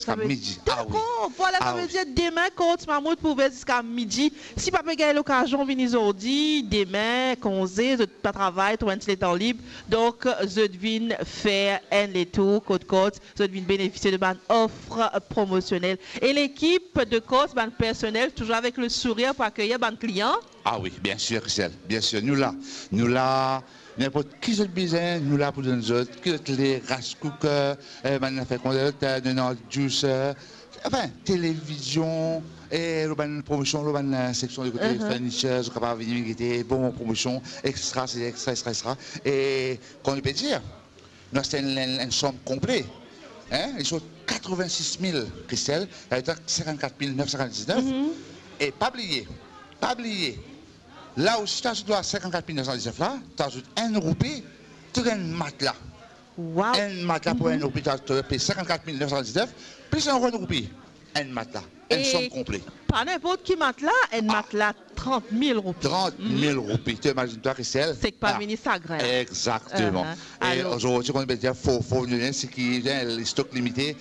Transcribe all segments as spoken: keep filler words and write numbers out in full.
Ziska midi. Ah wi. Dakor, vwala, sa ve dir demin, Courts Mammouth pou ouver ziska midi. Si pa pe gagn lokazion vini zordi, demin, konze, zot pa travay, trouv enn ti letan lib. Donk, zot vinn fer enn letour kot Courts, zot vinn benefisie de bann of promosionel. E lekip de Courts, bann personel, touzour avek le sourir pou akeyir bann klian. Ah wi, biensir, Christelle, biensir, nou la. Nou la, ninport ki zot bizin, nou la pou donn zot, ki zot le, rice cooker, eh, bann zafer koumsa, eh, donn juicer, anfin, televizion, e lor bann promosion, lor bann, eh, seksion de kote, mhm, furniture, zot kapav vini gete, bon, bon promosion, extra, se extra, extra, extra. E, kouma nou pe dir, nou aste enn, enn, enn som konple, hein, li sort katrevin-sis mil, Christelle, li ariv a sinkant-kat mil nef san nef san diznef. Mhm. E pa bliye, pa bliye, la osi, to azout lor sinkant-kat mil nef san diznef la, to azout enn roupi, to gagn matla. Wow. Enn matla pou enn roupi, to, to pe sinkant-kat mil nef san diznef, plis ankor enn roupi, enn matla, enn som konple. E pa ninport ki matla, enn matla trant mil roupi. Trant mil roupi, to imazinn twa, Christelle? Seki pa vini sagrin. Exactement. Mhm. E alor, zordi, kouma nou pe dir, fo, fo vini, seki, hein, stok limite,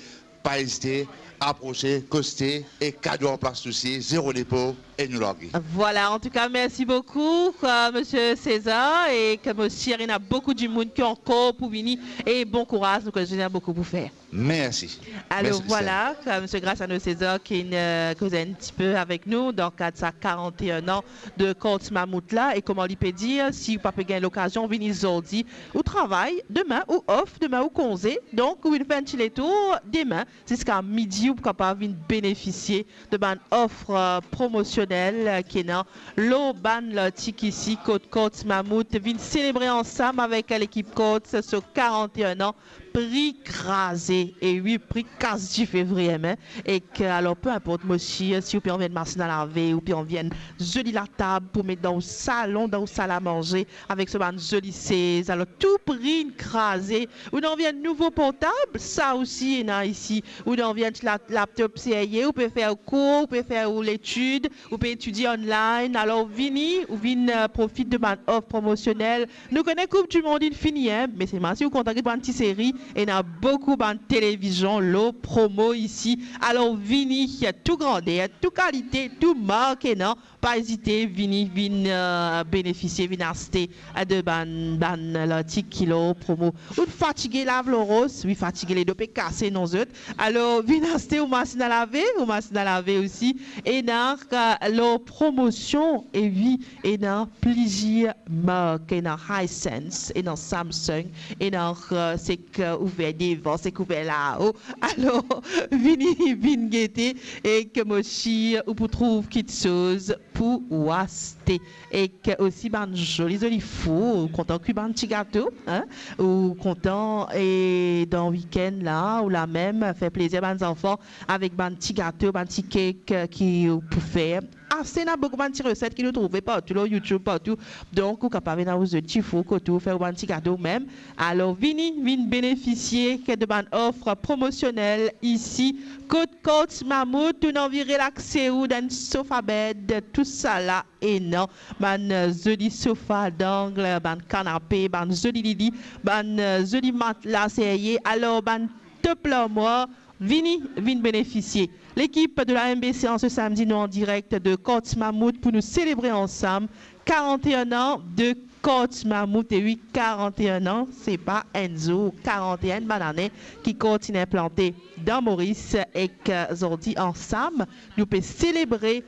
pa ezite, aprose, koste, e kado an plas osi, zero depo, e nou large. Vwala, antouka, mersi boukou, euh, Misie César, e ki mo sir ena boukou dimoun ki ankor pou vini, e bon kouraz, nou kone zot ena boukou pou fer. Mersi. Alor, mersi, vwala, Christelle. Ki Misie Graciano César ki, euh, koz enn tipe avek nou dan kad sa karant-e-enn an de Courts Mammouth la, e kouma li pe dir, si ou pa pe gagn lokazion vini zordi, ou travay, demin ou off, demin ou konze, donk ou vinn fer enn ti letour, demin, ziska midi, ou pou kapav vinn benefisie de bann of, euh, promosionel, euh, ki ena lor bann lartik isi kot Courts Mammouth. Vinn selebre ansam avek lekip Courts so karant-e-enn an, pri kraze, e wi, pri kas dife vremem, e ki, alor, pe inport, mo sir, si ou pe anvi enn masinn a lave, ou pe anvi enn zoli latab pou met dan ou salon, dan ou sal a manze, avek so bann zoli sez. Alor, tou pri inn kraze. Ou ena anvi enn nouvo portab? Sa osi ena isi. Ou ena anvi enn ti la-, laptop serye, ou pe fer ou kour, ou pe fer ou letid, ou pe etidie online. Alor, vini, ou vinn, euh, profit de bann of promosionel. Nou kone Koup di Mond inn fini, hein, me selman si ou kontan get bann ti seri, ena boukou bann televizion lor promo isi. Alor, vini, tou grander, tou kalite, tou mark ena. Pa ezite, vini, vinn, euh, benefisie, vinn aste, euh, de bann, bann lartik ki lor promo. Ou fatige lav lor ros, wi, fatige, ledo pe kase, non zot. Alor, vinn aste ou masinn a lave, ou masinn a lave osi. Ena, euh, lor promosion, e wi, ena plizier mark, ena Hisense, ena Samsung, ena, euh, seki ouver devan, seki ouver lao. Alor, vini, vinn gete, e ki mo sir ou pou trouv kiksoz pou ou aste. Ek osi bann zoli, zoli four, ou kontan kwi bann ti gato, hein? Ou kontan, e dan wikenn la, ou la mem fer plezir bann zanfan avek bann ti gato, bann ti kek, eh, ki ou pou fer. Aste, ena boukou bann ti reset ki nou trouve partou, lor YouTube, partou. Donk, ou kapav ena ou zot ti four kot ou, fer ou bann ti gato mem. Alor, vini, vinn benefisie ki de bann of promosionel isi. Kot Courts Mammouth, ou ena anvi relaxe ou dan enn sofa bed, tousala ena. Bann, eh, zoli sofa d'angle, bann kanape, bann zoli lili, bann, eh, zoli matla serye. Alor, bann top larmwar, vini, vinn benefisie. Lekip de la M B C an se samdi, nou an direk de Courts Mammouth pou nou selebre ansam karant-e-enn an de Courts Mammouth. E wi, karant-e-enn an, se pa enn zour, karant-e-enn bann ane ki Courts inn inplante dan Moris, ek zordi ansam, nou pe selebre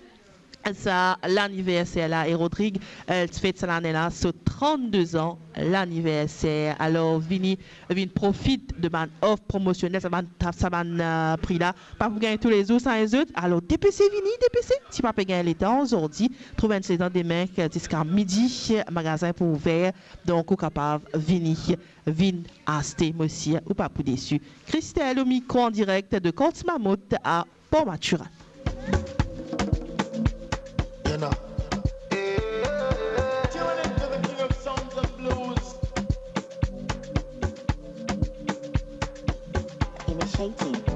sa laniverser la. E Rodrig, eh, ti fet sa lane la so trannde zan laniverser. Alor, vini, vinn profit de bann of promosionel, sa bann, sa bann, eh, pri la pa pou gagn toulezour, sa enn zot. Alor, depese vini, depese. Si pa pe gagn letan zordi, trouv enn ti letan demin, ziska midi, magazin pou ouver. Donk, ou kapav vini, vinn aste, mo sir ou pa pou desi. Christelle o mikro an direk de Courts Mammouth a Port Mathurin. Yana. Tuning to the king of sounds and blues. Initiating